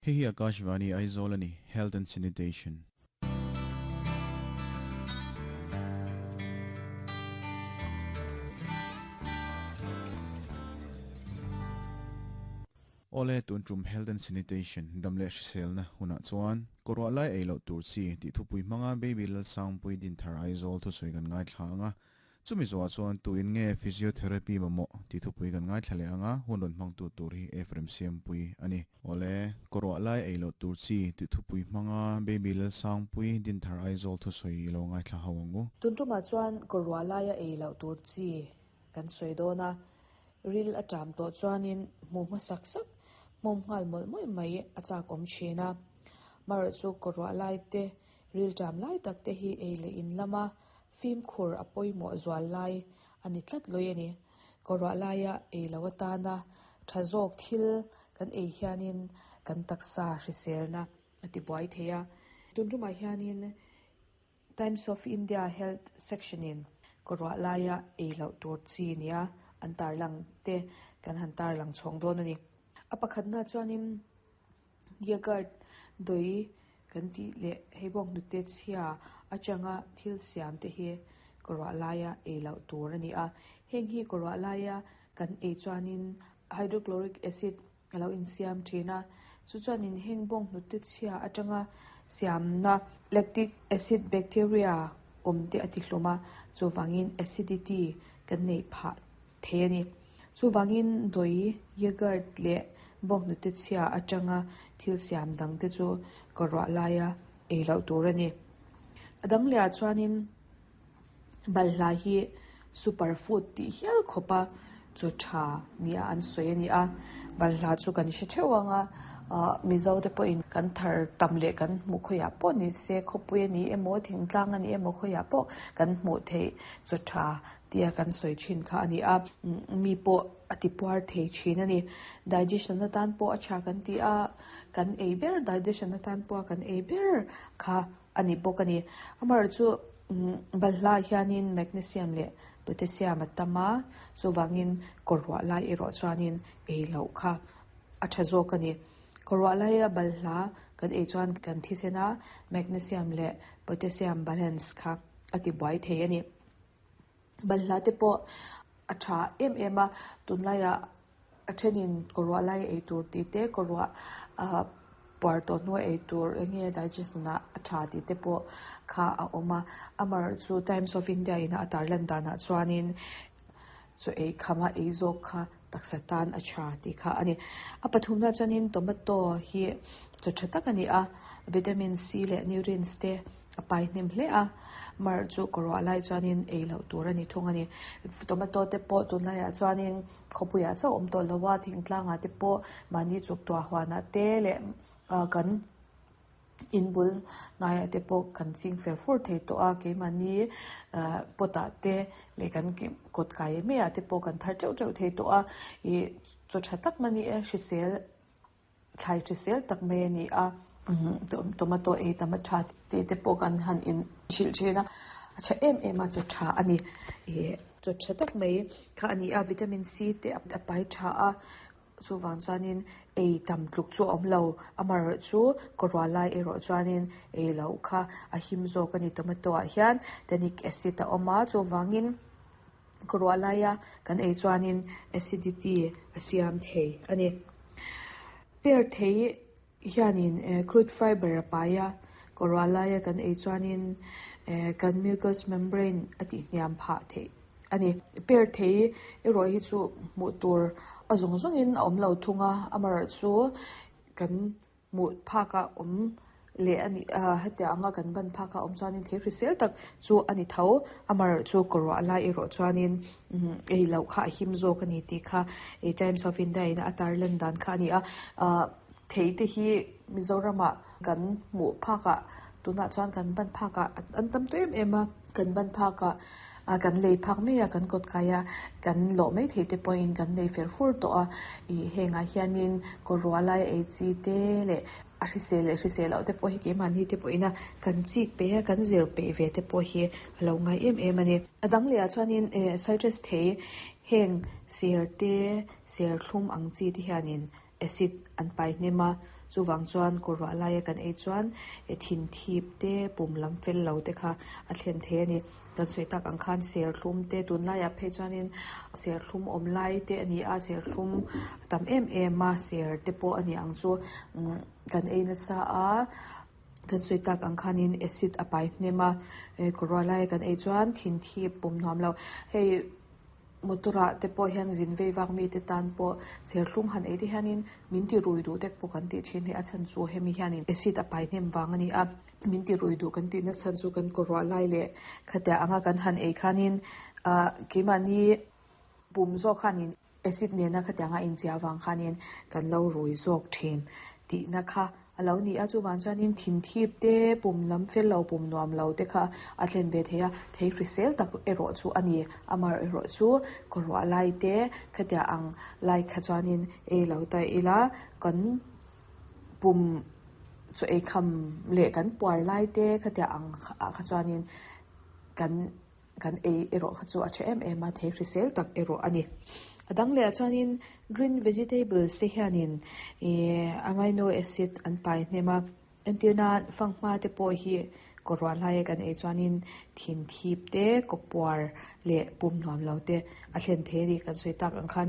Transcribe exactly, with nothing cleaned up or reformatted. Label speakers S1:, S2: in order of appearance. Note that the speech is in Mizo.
S1: Hei hi Akashvani Aizawl ani, Health and Sanitation. Ole tun tum Health and Sanitation damle hriselna huna chuan korwa lai ei lo tur chi ti thupui hmanga baby lal sangpui din thar Aizawl thu soi kan ngai thla anga chumi zuwa chuan tu in nge physiotherapy mamo ti thupui kan ngai thlale anga hun hmang tu tur hi Ephraim Siampui ani. Ole korwa lai ei lo tur chi ti thupui hmanga baby lal sangpui din thar Aizawl thu soi lo ngai thla hawangu.
S2: Tun tuma chuan korwa lai ei lo tur chi kan soi dona ril atam to chuanin mu ma sak sak mom ngal mol moi mai acha kom chena mar chu korwa lai te ril tam lai tak te hi ei le in lama phim khur apoi mo zwal lai ani tlat loi ani korwa laia ei lawata na thazok thil kan ei hianin kan taksa hriselna ati buai theia tunruma hianin Times of India Health section in korwa laia ei lo tur chi nia an tar lang te kan han tar lang chhong don ani apakhat na chuanin yogurt doi kan ti le heibong nu te chhia achanga thil siam te hi korwa laia ei lo tur ani a heng hi korwa laia kan ei chuanin hydrochloric acid alo in siam thina chu chuanin heng bong nu te chhia atanga siam na lactic acid bacteria om te ati hluma chu wangin acidity kan nei pha the ani chu wangin doi yogurt le bong nu te chhia atanga thil siam dang te chu korwa laia ei lo tur ani adang le chuanin balhla hi superfood ti hial khopa chu tha nia an soi ani a balhla chu kan hre theuanga mizo te pawh in kan thar tam le kan hmu khoya pawh ni se khawpui ani emaw thingtlang ani emaw khoya pawh kan hmuh theih chu tha tia kan soi thin kha ani a mi pawh ati puar thei thin ani digestion na tan pawh a tha kan ti a kan ei ber digestion na tan pawh kan ei ber kha ani bawk ani amar chu balhla hianin magnesium le potassium atama chuwangin korwa lai erawh chuanin ei lo kha a tha zawk ani korwa laia balhla kan ei chuan kan thisena magnesium le potassium balance kha ati buai thei ani balhla te pawh a tha em em a tunlaia a thenin korwa lai ei tur ti te korwa a puar to hnuai ei tur enge digestion a tha ti te pawh kha a awm a amar chu Times of India in a tarlan danah chuanin chu ei khama ei zawk kha taksa tan a tha ti kha ani a pathum na chuanin tomato hi chu tha tak ani a vitamin C le nutrients te a pai hnem hle a mar chu korwa lai chuanin ei lo tur ani thung ani tomato te pawh tunlaiah chuanin khawpuiah chauh awm tawh lo a thingtlangah te pawh mahni chuk tuah huanah te leh kan inbul hnaiah te pawh kan ching fer fur thei tawh a keimahni potah te leh kan kawt kai maiah te pawh kan thar teuh teuh thei tawh a ih chaw tha tak mani e hrisel thlai hrisel tak mai ani a tomato ei tam a tha te te pawh kan han in hrilh thin a a tha em em a chaw tha ani ih chaw tha tak mai kha ani a vitamin C te a pai tha a chuwang chuanin ei tam tluk chu awm lo amar chu korwa lai erawh chuanin ei lo kha a him zawk ani tomato ah hian tannic acid a awm a chuwangin korwa laia kan ei chuanin acidity a siam thei ani pear thei hianin crude fiber a pai a korwa laia kan ei chuanin kan mucous membrane a ti hniam phah thei ani pear thei erawh hi chu hmuh tur a zawng zawngin a awm lo thunga amar chu kan hmuh phakah awm le ani hetia anga kan ban phakah awm chuanin thei hrisel tak chu ani tho amar chu korwa lai erawh chuanin ei lo kha a him zawk ani tih kha Times of India in a tarlan dan kha ani a thei te hi Mizoramah kan hmuh phakah tunah chuan kan ban phakah an tam tawh em em a kan ban phakah kan lei phak mai a kan kawt kai a kan lawh mai thei te pawhin kan nei fer fur tawh a ih hengah hianin korwa lai ei chi te leh a hrisel leh hrisel loh te pawh hi keimahni te pawhin a kan chik pe a kan zir peih ve te pawh hi a lo ngai em em ani a dang lehah chuanin eh citrus thei heng ser te ser thlum ang chi te hianin Acid an pai hnem a chuwang chuan kawr ruah laia kan ei chuan e thin thip te pum lam fel lo te kha a thlen thei ani kan sawi tak ang khan serthlum te tunlaiah phei chuanin serthlum awm lai te ani a serthlum tam em em a ser te pawh ani ang chu umm kan ei nasa a kan sawi tak ang khanin acid a pai hnem a e kawr ruah laia kan ei chuan thin thip pum nuam lo hei motor ah te pawh hian zin vei vak mi te tan pawh serthlum han ei te hianin min ti rui duh tek pawh kan tih thin hi a chhan chu hemi hianin acid a pai hnem vang ani a min ti rui duh kan tih na chhan chu kan kawr ruah lai leh khatia anga kan han ei khanin ah keimahni pum zawk khanin acid nena khatianga inziah avang khanin kan lo rui zawk thin tih na kha alo ni a chuwang chuanin thin thip te pum lam fel lo pum nuam lo te kha a thlen ve thei a thei hrisel tak erawh chu ani amah erawh chu kawr ruah lai te khatia ang lai kha chuanin ei lo ta ila kan pum chu ei kham leh kan puar lai te khatia ang ah kha chuanin kan kan ei erawh kha chu a tha em em a thei hrisel tak erawh ani a dang leh ah chuanin green vegetables te hianin ihh amino acid an pai hnem a entir nan fanghma te pawh hi kawr ruah laia kan ei chuanin thin thip te kaw puar leh pum nuam lo te a thlen thei ani kan sawi tak ang khan.